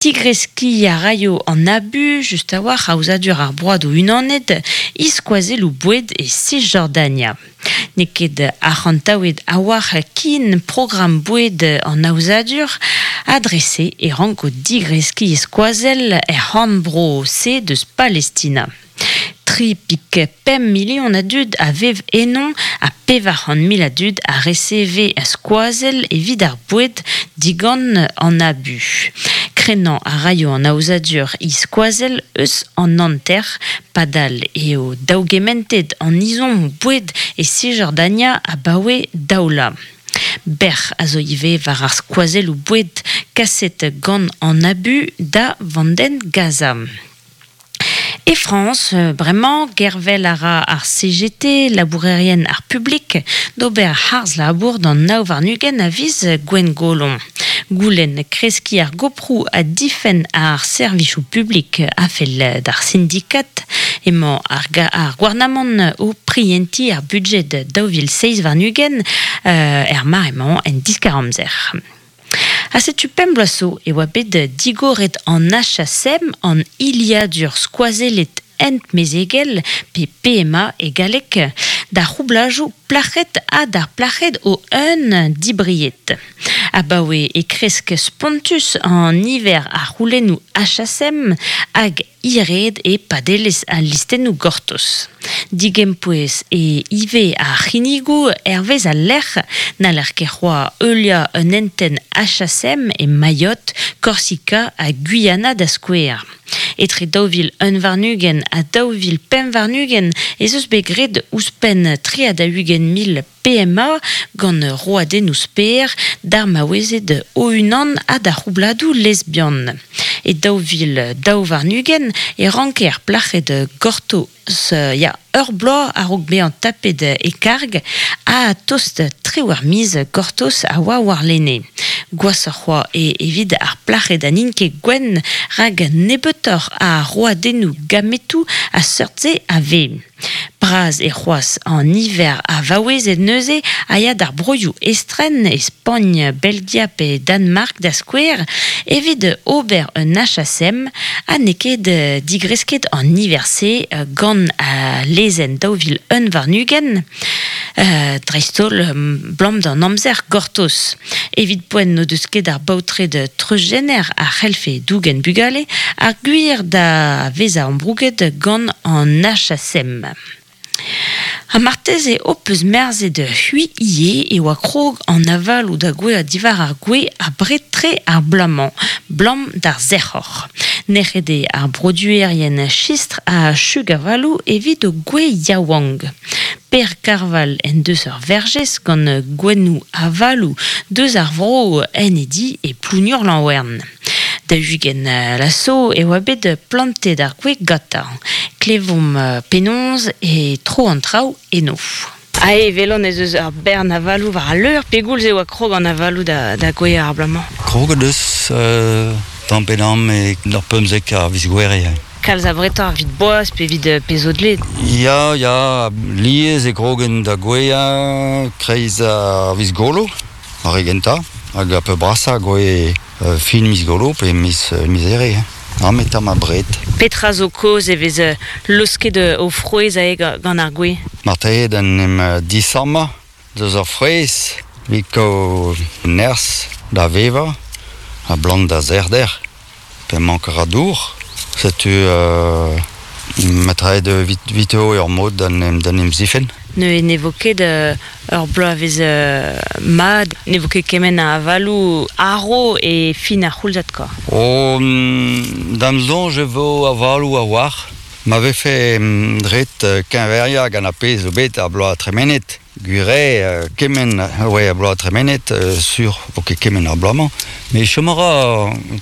Tigreskiñ a raio an ABU, just a-walc'h aozadur ar Broadoù Unanet, e-skoazelloù boued e Sisjordania. N'eo ket arc'hantaouet a-walc'h ken programm boued an aozadur ha dre-se e ranko digreskiñ e skoazell er c'horn-bro-se deus Palestina. 3,5 milion a dud a vev eno ha 400,000 a dud a reseve skoazell evit ar boued digant an ABU. Krennañ a raio an aozadur he skoazell eus an hanter, padal eo daougementet an izommoù boued e Sisjordania abaoe daou vloaz. Bec'h a zo ivez war ar skoazelloù boued kaset gant an ABU da vandenn Gaza. E Frañs, bremañ, gervel a ra ar CGT, labourerien ar publik, d'ober harz-labour d'an 29 a viz Gwengolo. Goulenn kreskiñ ar goproù ha difenn ar servijoù publik a fell d'ar sindikad. Emañ ar, ar gouarnamant o prientiñ ar budjed 2027 er mare-mañ en diskar-amzer. Ha setu pemp bloaz zo e oa bet digoret an HSM, an hiliadur skoazellet ent-mezegel, pe PMA e galleg, d'ar c'houblajoù plac'hed ha d'ar plac'hed o-un dibried. Abaoe e kresk spontus an niver a c'houlennoù HSM hag Hiraet eo padelezh al listennoù gortoz. Digempouez eo ivez ar c'hinnigoù hervez al lec'h. N'haller ket c'hoazh heuliañ un hentenn HSM e Mayotte, Korsika ha Guyana da skouer. Etre 2021 ha 2025 ez eus bet graet ouzhpenn 43,000 PMA gant roadennoù sper d'ar maouezed o-unan ha d'ar c'houbladoù lesbian. E 2022 e ranke ar plac'hed gortoz ya, ur bloaz a-raok bezañ tapet e karg ha tost triwec'h miz gortoz a oa warlene. Gwashoc'h c'hoazh eo evit ar plac'hed ha n'int ket gwenn rak nebeutoc'h a roadennoù gametoù a seurt-se a vez. Bras eo c'hoazh an niver a vaouezed neuze a ya d'ar broioù estren, e Spagn, Belgia pe Danmark da skouer, evit ober un HSM ha n'eo ket digresket an niver-se gant al lezenn 2021, dreist-holl 'blam d'an amzer gortoz. Evit poent n'o deus ket ar baotred treuzjener a c'hellfe dougen bugale ar gwir da vezañ ambrouget gant an HSM. Ha marteze ho peus merzet c'hwi ivez e oa krog an avaloù da gouezhañ diwar ar gwez abred-tre ar bloaz-mañ, 'blam d'ar sec'hor. Nec'het eo ar broduerien chistr ha chug-avaloù evit o gwez yaouank. Per Karval en deus ur verjez gant gouennoù avaloù deus ar vro en e di e Plougnour-Lanwern. Da 20 laso e oa bet plantet ar gwez gantañ. Klevomp penaos e tro an traoù eno. Ah, e welan ez eus ur bern avaloù war al leur. Pegoulz e oa krog an avaloù da, da gouezhañ ar bloaz-mañ? Kroget eus tamm pe damm e ur 15 a viz Gouere. Kalz abretoc'h evit boaz pe evit pezh zo dleet? Ya, ya, lies e krogen da gouezhañ kreiz ar viz Golo, ar re gentañ, hag ar peurbrasañ a gouezhe fin miz Golo pe miz, miz Here. Hein. met tamm abred. Petra zo kaoz e vez laosket o frouezh aze gant ar gwez? Marteze d'en em disammañ deus ar frouezh evit kaout nerzh da vevañ ha blant da sec'hder. Pe mank a ra dour. Setu ma traet evito ur mod d'en em zifenn. Neuze ne vo ket ur bloavezh mat, ne vo ket kement a avaloù arv e fin ar c'houlzad kwa. Oh, d'am soñj e vo avaloù a-walc'h. Ma vefe ret keñveriañ gant ar pezh zo bet ar bloaz tremenet. Gwir eo, kement oa ar bloaz tremenet, sur vo ket kement ar bloaz-mañ, met chom a ra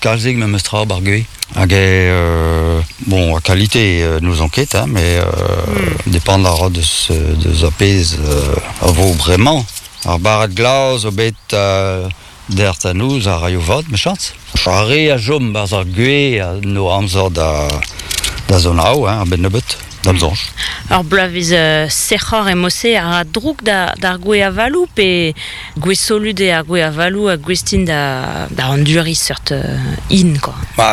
kalzik memes tra 'bar gwez. Hag eo, bon, a qualité n'ouzon ket, hein, mais depend a ra deus, deus ar pezh a vo bremañ. Ar barrad glas zo bet dec'h da noz a raio vat, mechañs. Ar re a chom 'barzh ar gwez a no amzer da, da zonaou, hein, a-benn nebeut. Da'm soñj. Ur bloavezh sec'hor e mod-se a ra droug d'ar gwez avaloù pe gwez solut eo ar gwez avaloù ha gouest int da anduriñ seurt hin, quoi. Ma